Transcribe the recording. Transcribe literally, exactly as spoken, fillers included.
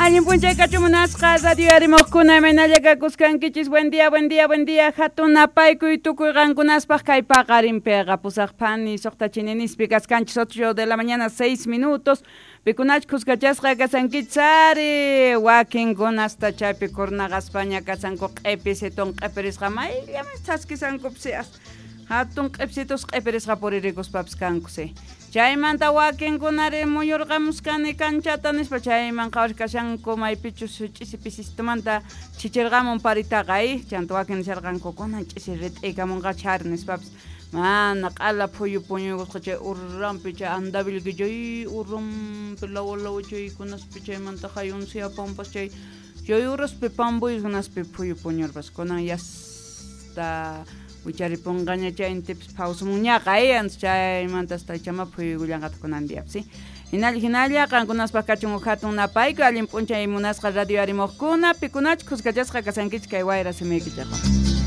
Allin p'unchay kachun munasqa radio yarimoqkuna imaynalla kakuskankichis. Buen día, buen día, buen día. Hatun napaykuy tukuy qankunaspaq kay paqarinpiqa pusaq phani suqta chininispi kaskanchis ocho de la mañana seis minutos. Pikunach kuskachasqa kasankichis ari wakinkunasta chaypi kurnaqaspaña kasanku q'ipisiton q'ipirisqa mayllamas thaskisankupis hatun q'ipsitus q'ipirisqa puririkuspapis kankusi. Chaymanta wakinkunari muyurqamuskani kanchata nispa chayman qhawarikashanku maypichus ch'isi pisistumanta chichirqamun paritaqa eh chanta wakin nisharqanku kunan ch'isi rit'ikamunqa chari nispapis mana q'ala phuyu puñuykusqa chay urrampi chay andavilki chay urrampi lawa lawa chaykunaspi chaymanta hayunsiya pampas chay chay uraspi pampuykunaspi phuyu puñurpas kunan yasta wicharipunqaña chay intipis phawsumuñaqa eh chaymanta hasta chama phuyuykullanqataq kunan diapis hinalla hinalla qankunaspaq kachun huk hatun napayku allin p'unchay munasqa radio yarimoqkuna pikunach kuskachasqa kasankichik kay wayra simiykichikqa.